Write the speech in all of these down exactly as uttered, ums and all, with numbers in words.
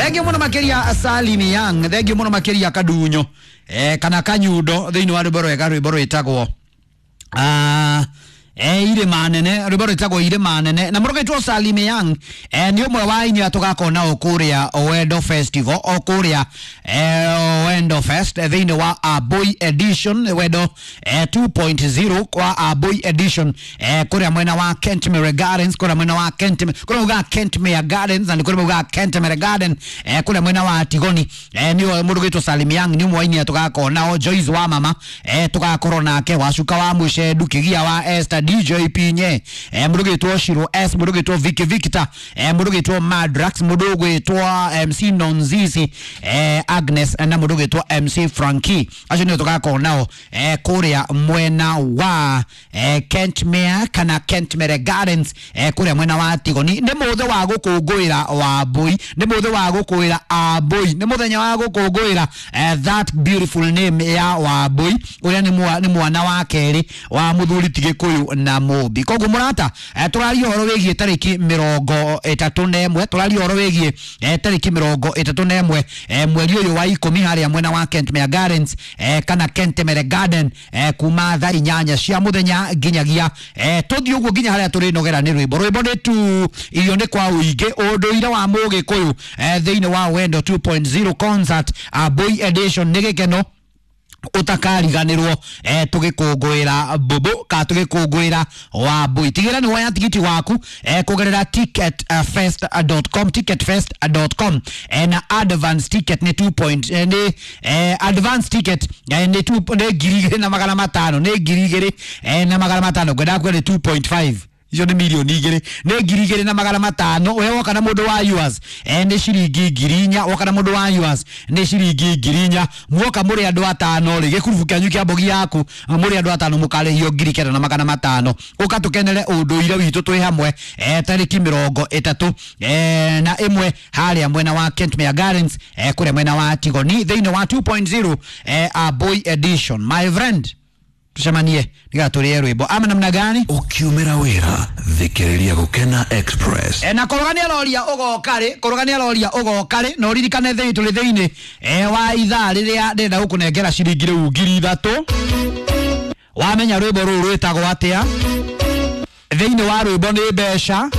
Thengiũ mũno makĩria Salimi Young, thengiũ mũno makĩria Kadunyo eh, kana Kanyundo thĩinĩ wa rwĩmbo rwega, rwĩmbo rwĩtagwo ah, eh, irĩma nene, rwĩmbo rwĩtagwo irĩma nene na mũrũgĩtwo Salimi Young. eh, nĩ ũmwe wa aini arĩa tũgakorwo nao kũrĩa Wendo Festival, o kũrĩa eh, Wendo Fest eh, thĩinĩ wa Aboi Edition, Wendo eh, two point zero kwa Aboi Edition, eh, kũrĩa mwena wa Kentmere Gardens, kũrĩa mwena wa Kentmere, kũrĩa maugaga Kentmere Gardens na nĩ kũrĩa maugaga Kentmere Garden, eh, kũrĩa mwena wa Tigoni. eh, nĩ mũndũ gwĩtwo Salim Young nĩ ũmwe wa aini arĩa tũgakorwo nao. Joyce wa mama eh, tũgakorwo nake, Wacuka wa Mũcendu, Kĩgia wa Esther, D J Pinye, eh, mũndũ gwĩtwo Shiro S, mũndũ gwĩtwo Vicky Victor, eh, mũndũ gwĩtwo Madrax, mũndũ gwĩtwo M C Nonzizi, eh, Agnes na mũndũ gwĩtwo M C Frankie. Acio nĩo tũgakorwo nao eh, kũrĩa mwena wa eh, Kentmere kana Kentmere Gardens, eh, kũrĩa mwena wa Tigoni. Nĩ mũthĩ wa gũkũngũĩra Wambui, nĩ mũthĩ wa gũkũĩra Ambui, nĩ mũthenya wa gũkũngũĩra eh, that beautiful name ya Wambui ũrĩa nĩ mwa- nĩ mwana wa kerĩ wa mũthuri ti Gĩkũyũ na Mũmbi. Koguo mũrata, eh, tũraria ũhoro wĩgiĩ tarĩki mĩrongo ĩtatũ na ĩmwe, tũraria ũhoro wĩgiĩ eh, tarĩki mĩrongo ĩtatũ na ĩmwe eh, mweri ũyũ wa ikũmi, harĩa mwena wa Kentmere Gardens eh, kana Kentmere Garden, eh, kuma thaa inyanya cia mũthenya nginyagia eh, tũthiĩ ũguo nginya harĩa tũrĩnogera nĩ rwĩmbo. Rwĩmbo nĩ tu, irio nĩ kwa ũingĩ, ũndũire wa Mũgĩkũyũ eh, thĩinĩ wa Wendo two point zero concert Aboi Edition. Nĩ gĩkeno utakariganirwo eh, tugikungwira bubu ka tugikungwira Wambui. Tigira ni woya tigiti waku eh, kugerera ticketfest dot com, ticketfest dot com, eh, na advance ticket ni two point, eh, ni eh, advance ticket eh, ni two, ni ngiri igĩrĩ na magana matano, nĩ ngiri igĩrĩ eh, na magana matano. Ngwenda kuga nĩ two point five, icio nĩ mirioni igĩrĩ, nĩ ngiri igĩrĩ na magana matano. We woka na mũndũ wa yours eh, nĩ ciringi ngiri inya. Woka na mũndũ wa yours nĩ ciringi ngiri inya. Muoka mũrĩ andũ atano rĩ, gĩkurubu kĩanyu kĩa mbogi yaku mũrĩ andũ atano, mũkarĩhio ngiri kenda na magana matano. Ũka tũkenere ũndũire witũ twĩ hamwe eh, tarĩki mĩrongo ĩtatũ eh, na ĩmwe harĩa mwena wa Kentmere Gardens, eh, kũrĩa mwena wa Tigoni, thĩinĩ wa two point zero eh, Aboi Edition. My friend, tucemanie nigetha tũrĩe rwĩmbo ama namna gani? Ukiumĩra wĩra, thikĩrĩria Gũkena Express. E, na koroga nĩ aroria ũgoka rĩ, koroga nĩ aroria ũgoka rĩ, na ũririkane thĩinĩ tũrĩ thĩinĩ e, wa ithaa rĩrĩa ndĩrenda gũkũnengera ciringi rĩu ngiri ithatũ. Wamenya rwĩmbo rũu rwĩtagwo atĩa? Thĩinĩ wa rwĩmbo nĩ mbeca.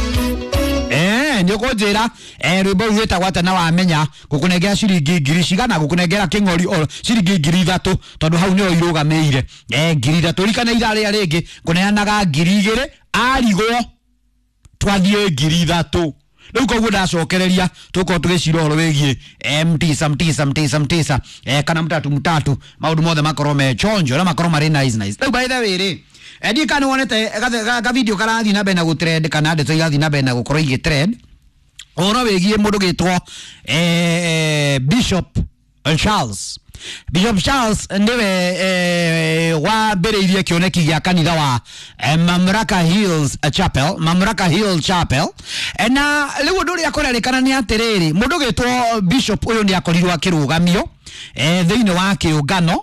Eh, nĩ ũkũnjĩra eh, rwĩmbo rũu rwĩtagwo atĩa, na wamenya ngũkũnengera ciringi ngiri cigana, ngũkũnengera kĩng'ori o ciringi ngiri ithatũ, tondũ hau nĩho irũgamĩire eh, ngiri ithatũ. Ririkana ithaa rĩrĩa rĩngĩ ngũneanaga ngiri igĩrĩ, arigwo twathiĩ ngiri ithatũ rĩu. Koguo ndacokereria tũkorwo tũgĩcira ũhoro wĩgiĩ eh, mtisa mtisa mtisa mtisa eh, kana mtatu mtatu, maũndũ mothe makorwo me chonjo na makorwo marĩ nice nice. Rĩu by the way rĩ, eh, ndiĩ kana nĩwonete ga video karathiĩ na mbere na gũtrend, kana ndeto irathiĩ na mbere na gũkorwo igĩtrend ũhoro wĩgiĩ mũndũ gĩtwo eh, Bishop Charles. Bishop Charles nĩwe eh, wambĩrĩirie kĩoneki gĩa kanitha wa eh, Mamlaka Hills Chapel, Mamlaka Hill Chapel. eh, na rĩu ũndũ ũrĩa kũrerĩkana nĩ atĩrĩrĩ, mũndũ gĩtwo Bishop ũyũ nĩ akorirwo akĩrũgamio eh, thĩinĩ wa kĩũngano,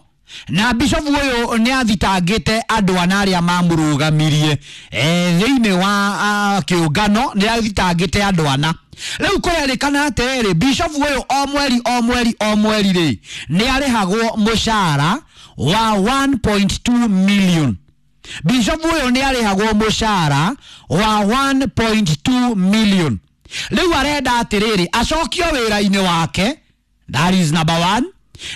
na bishop ũyũ nĩ athitangĩte andũ ana arĩa mamũrũgamirie eh, thĩinĩ wa ah, kĩũngano, nĩ athitangĩte andũ ana. Rĩu kũrerĩkana atĩrĩrĩ, bishop ũyũ o mweri o mweri o mweri rĩ, nĩ arĩhagwo mũcara wa one point two million. Bishop ũyũ nĩ arĩhagwo mũcara wa one point two million. Rĩu arenda atĩrĩrĩ, acokio wĩra-inĩ wake, that is number one,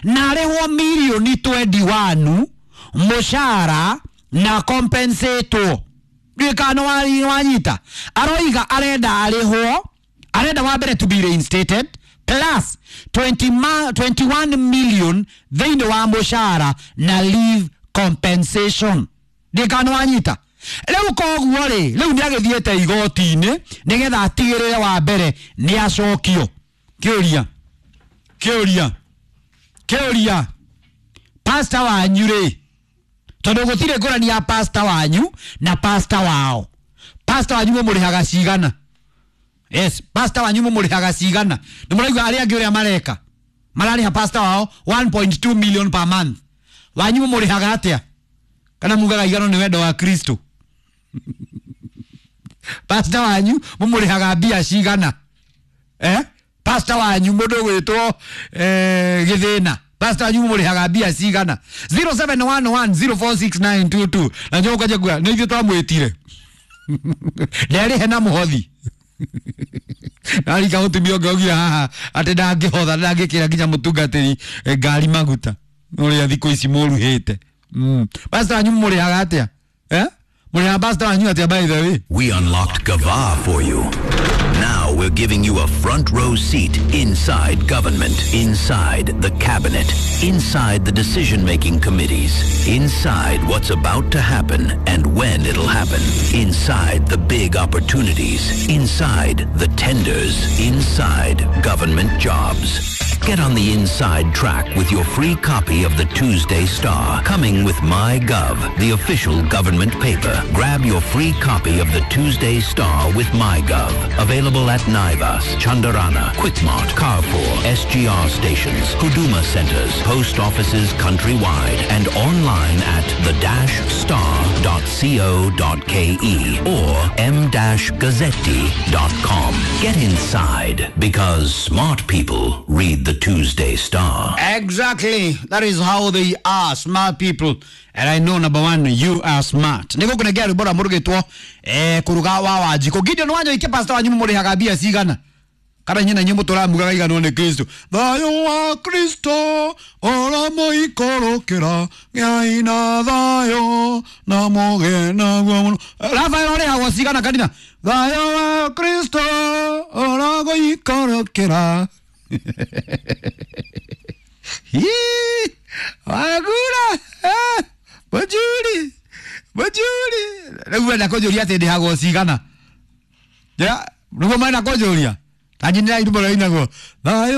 na arĩhwo mirioni mĩrongo ĩĩrĩ na ĩmwe mũcara na compensatwo. Ndiũĩ kana nĩ wanyita. Aroiga arenda arĩhwo, arenda wa mbere to be reinstated plus twenty ma, twenty-one million thĩinĩ wa mũcara na leave compensation. Ndiũĩ kana nĩ wanyita. Rĩu koguo rĩ, rĩu nĩ agĩthiĩte igoti-inĩ nĩgetha atigĩrĩre wa mbere nĩ acokio. Kĩũria, kĩũria, kĩũria, pastor wanyu rĩ, tondũ gũtirĩ ngũrani ya pastor wanyu na pastor wao, pastor wanyu mũmũrĩhaga cigana? Yes, pastor wanyu mũmũrĩhaga cigana? Nĩ mũraigua arĩa angĩ ũrĩa mareka, mararĩha pastor wao one point two million per month. Wanyu mũmũrĩhaga atĩa? Kana mugaga igano nĩ wendo wa Kristo? Pastor wanyu mũmũrĩhaga mbia cigana? Eh, Pastor wanyu mũndũ gwĩtwo eh, gĩthĩna, pastor wanyu mũrĩhaga mbia cigana? zero seven one one zero four six nine two two. Na njoka njagua nĩ ithuĩ twamwĩtire nderĩhe na mũhothi. Narika mũtumia ũngĩ augire haha atĩ ndangĩhotha, ndangĩkĩra nginya mũtungatĩri ngari maguta ũrĩa thikũ ici mũruhĩte. Mm. Pastor wanyu mũrĩhaga atĩa? Eh? Mũrĩhaga pastor wanyu atĩa, by the way? We unlocked Gava for you. Now we're giving you a front row seat inside government, inside the cabinet, inside the decision-making committees, inside what's about to happen and when it'll happen, inside the big opportunities, inside the tenders, inside government jobs. Get on the inside track with your free copy of the Tuesday Star, coming with MyGov, the official government paper. Grab your free copy of the Tuesday Star with MyGov. Available at Naivas, Chandarana, Quickmart, Carrefour, S G R stations, Huduma centers, post offices countrywide, and online at the dash star dot co dot K E or m dash gazzetti dot com. Get inside, because smart people read the Tuesday Star. Exactly. That is how they are, smart people. And I know, number one, you are smart. Niko kunegea rwĩmbo rwa mũrugĩtwo eh kuruga wa Wanjikũ. Gideon Wanyoike, pastor wanyu mũrĩhaga mbia cigana? Kana inyuĩ na inyuĩ mũtũramugaga iganwo nĩ Kristo. Thayũ wa Kristo ũramũikũrũkĩra, gĩai na thayũ na mũgĩe naguo mũno. Rafael ũrĩhagwo cigana kanitha? Thayũ wa Kristo ũragũikũrũkĩra. Hii, wagura, eh, bajuri, bajuri. Rĩu wenda kũnjũria atĩ ndĩhagwo cigana? Ja, nĩguo marenda kũnjũria? Kanjinĩra irũmbo rĩinagwo. Thayũ